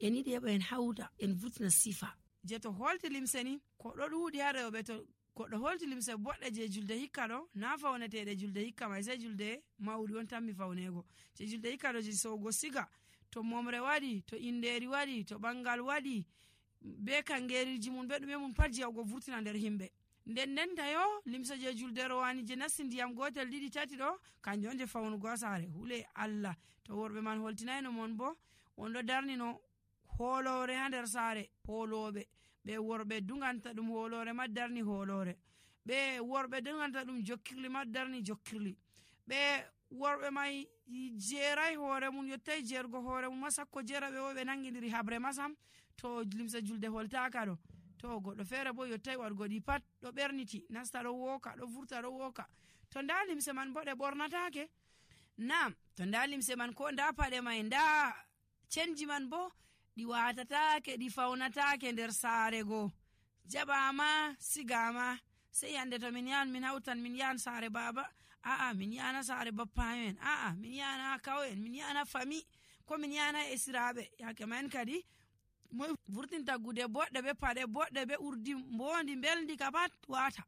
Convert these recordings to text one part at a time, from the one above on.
en yiɗi heɓa en hawta en vurtina sifa je to holti limse ni ko ɗo ɗuuɗi ha rewɓe. To goɗɗo holti limse boɗɗe je julde hikka ɗo na fawneteɗe julde hikka mai, sai julde mawɗi on tammi fawnego. je julde hikka ɗo je sowgo siga, to momre waɗi, to inderi waɗi, to ɓangal waɗi, be kangeriji mum be ɗume mum pat jiyawgo vurtina nder himɓe. nden tayo limse je julde rowani je nasti ndiyam gotel ɗiɗi tati ɗo kanjum on je fawnugo ha sare. hule Allah to worɓe man holtinayno mon bo on ɗo darnino holore ha nder sare. holoɓe ɓe worɓe duganta ɗum holore ma darni holore, ɓe worɓe duganta ɗum jokkirli ma darni jokkirli, ɓe worɓe mai jerai hoore mum yottai jergo hoore mum ma sakko jera ɓe wo ɓe nangidiri habre masam. to limse julde holtaka ɗo to goɗɗo feere bo yottai waɗgo ɗi pat ɗo ɓerniti nasta ɗo woka ɗo vurta ɗo woka. to nda limse man bo ɗe ɓornatake. nam to nda limse man ko nda paɗe mai nda cenji man bo ɗi watatake ɗi fawnatake nder sare go. jaɓama sigama sei yande to min yahan min hawtan min yahan sare baba, a'a min yana sare bappamen, a'a min yana kawen, min yana fami, ko min yana esiraɓe. yake man kadi mo vurtinta gude boɗɗe be paɗe boɗɗe be urdi mbondi belndi ka pat wata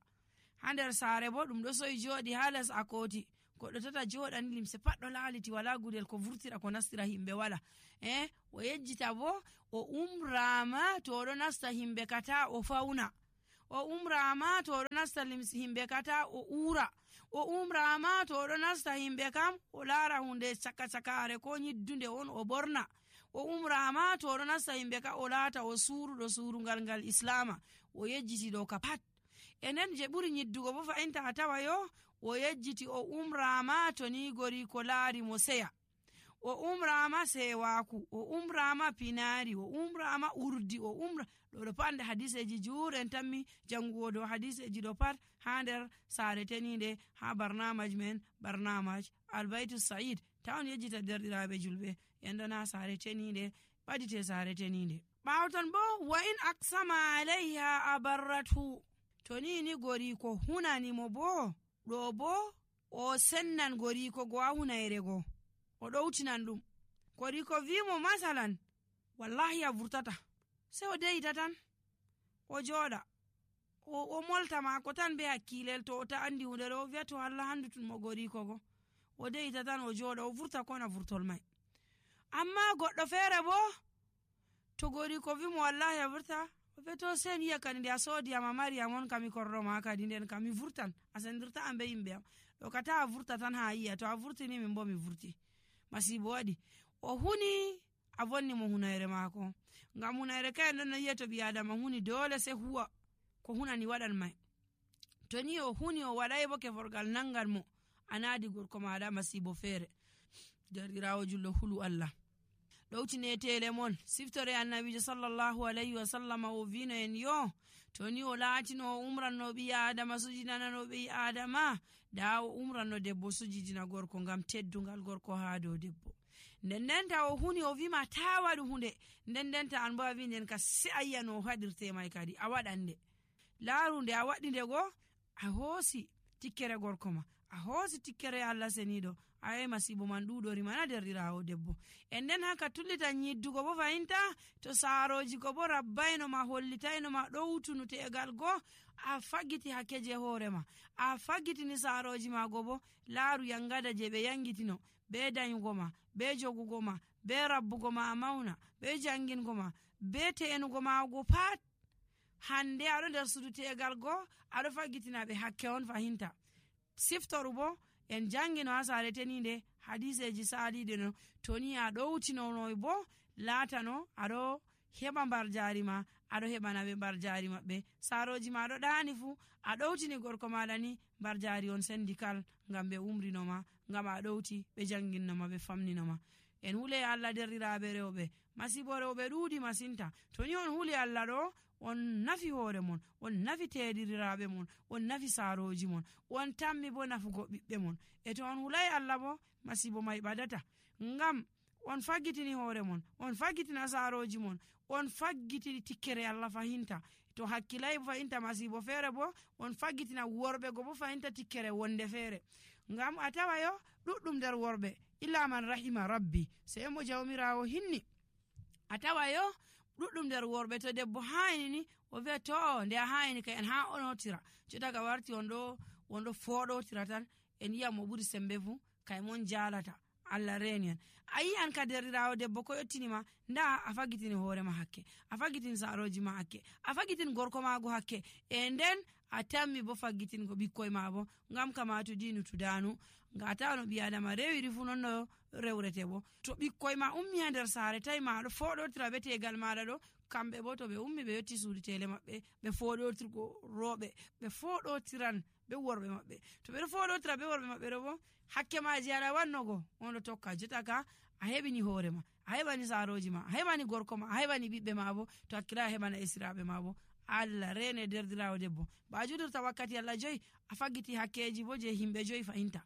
ha nder sare. bo ɗum ɗo soyi joɗi ha les akoti, goɗɗo tata joɗani limse pat ɗo laliti wala gudel ko vurtira ko nastira himɓe wala. o yejjita bo o umrama to oɗo nasta himɓe kata o fauna, o umrama to oɗo nasta himɓe kata o ura, o umrama to oɗo nasta himɓe kam o lara hunde cakare ko nyiddunde on o borna, o umrama to oɗo nasta himɓe ka o laata o suruɗo surungal ngal islama. o yejjiti ɗo ka pat. enen je ɓuri nyiddugo bo fa'inta a tawa yo o yejjiti o umrama to ni gori ko laari mo seya, o umrama sewaku, o umrama pinari, o umrama urdi, o umra ɗo pat nde hadiseji juuren tammi jangugo dow hadiseji ɗo pat ha nder sare tenide ha barnamaj men, barnamaj albaitu sa'id. tawon yejjita derɗiraɓe julɓe yandana sare tenide ɓadite sare tenide. ɓawton bo wa in aksama alayha abarratu, to ni gori ko hunanimo bo ɗo bo o sennan gori ko go a hunayre go o ɗowtinan ɗum. gori ko vimo masalan wallahi a vurtata, sai o deyita tan o joɗa o molta mako tan be hakkilel. to o ta andi hunde ɗo o wiya to Allah handutunmo gori ko go, o deyita tan o joɗa o vurta kona vurtol mai. amma goɗɗo feere bo to gori ko vimo wallahi a vurta o wiya to sen yiya kadi nde a soodi am a mari am on kami korroma kadi nden kam mi vurtan a sendirta am be yimɓe am. ɗo kata a vurta tan ha yiya, to a vurtini min bo mi vurti. masibo waɗi o huni a vonni mo hunayre mako, ngam hunayre kayen ɗon no yiya to ɓi adama huni dole se huwa ko hunani waɗan mai. to ni o huni o waɗai bo keforgal nangan mo a naadi gorko maɗa masibo feere. derɗirawo julɗo hulu Allah ɗowtine tele mon siftore annabijo sallallahu alayhi wa sallam o vino en yo to ni o laatino o umranno ɓi adama sujidinano ɓi adama da o umranno debbo sujidina gorko ngam teddungal gorko ha dow debbo. ndendenta o huni o vima ta waɗu hunde, ndendenta an bo a wi nden ka se a yiya no o haɗirte mai kadi a waɗande. laaru nde a waɗi nde go a hoosi tikkere gorko ma, a hoosi tikkere Allah seniɗo, ayi masibo man ɗuɗori mana derɗirawo debbo. en nden haka tullita nyiddugo bo fayinta to saaroji ko bo rabbayno ma hollitayno ma ɗowtunu tegal go a faggiti hakkeje hoore ma, a faggitini saaroji ma go bo laaru yangada je ɓe yangitino be danyugo ma, be jogugo ma, be rabbugo ma a mauna, be jangingo ma, be te'enugo ma go pat hande aɗo nder sudu tegal go aɗo faggitina ɓe hakke on fahinta. siftoru bo en jangino ha sare tenide hadiseji saliɗe no to ni a ɗowtinonoy bo latano aɗo heɓa mbar jari ma, aɗo heɓana ɓe mbar jari maɓɓe. saroji ma ɗo ɗani fu a ɗowtini gorko maɗa ni mbar jari on sendi kal ngam ɓe umrinoma, ngam a ɗowti ɓe janginnoma ɓe famninoma. en hule Allah derɗiraɓe rewɓe, masibo rewɓe ɗuuɗi masinta. to ni on huli Allah ɗo on nafi hoore mon, on nafi teɗiriraɓe mon, on nafi saroji mon, on tammi bo nafugo ɓiɓɓe mon. e to on hulai Allah bo masibo mai ɓadata, ngam on faggitini hoore mon, on faggitina saroji mon, on faggitini tikkere Allah fahinta. to hakkilai fahinta masibo feere bo on faggitina worɓe go bo fahinta tikkere wonde feere. ngam a tawa yo ɗuɗɗum nder worɓe illa man rahima rabbi, sei mo jawmirawo hinni a tawa yo ɗuɗɗum nder worɓe to debbo hayini ni o wiya to nde a hayini ka en ha onotira jotaga warti wonɗo foɗotira tan en yi'a mo ɓuri sembe fu kay mon jalata Allah reni en. A yi'an ka derɗirawo debbo ko yottinima nda a fagitini hoorema hakke, a fagitini saroji ma hakke, a fagitini gorko mago hakke, e nden a tammi bo faggitingo ɓikkoy ma bo ngam kama to dinu tudanu ngata no ɓi adama rewiri fu non no rewrete bo. To ɓikkoy ma ummi ha nder saare tawi ma ɗo foɗotira be tegal maɗa ɗo, kamɓe bo to ɓe ummi ɓe yotti suudu tele maɓɓe ɓe foɗotirgo roɓe ɓe foɗotiran be worɓe maɓɓe. To ɓeɗo foɗotira be worɓe maɓɓe ɗo bo hakke maji aɗa wannogo on ɗo tokka jotaka a heɓini hoorema, a heɓani saroji ma, a heɓani gorko ma, a heɓani ɓiɓɓe ma bo to hakkila a heɓana esiraɓe ma bo. Allah rene derdirawo debbo ba judorta wakkati Allah 5 a faggiti hakkeji bo je himɓe 5 fahinta.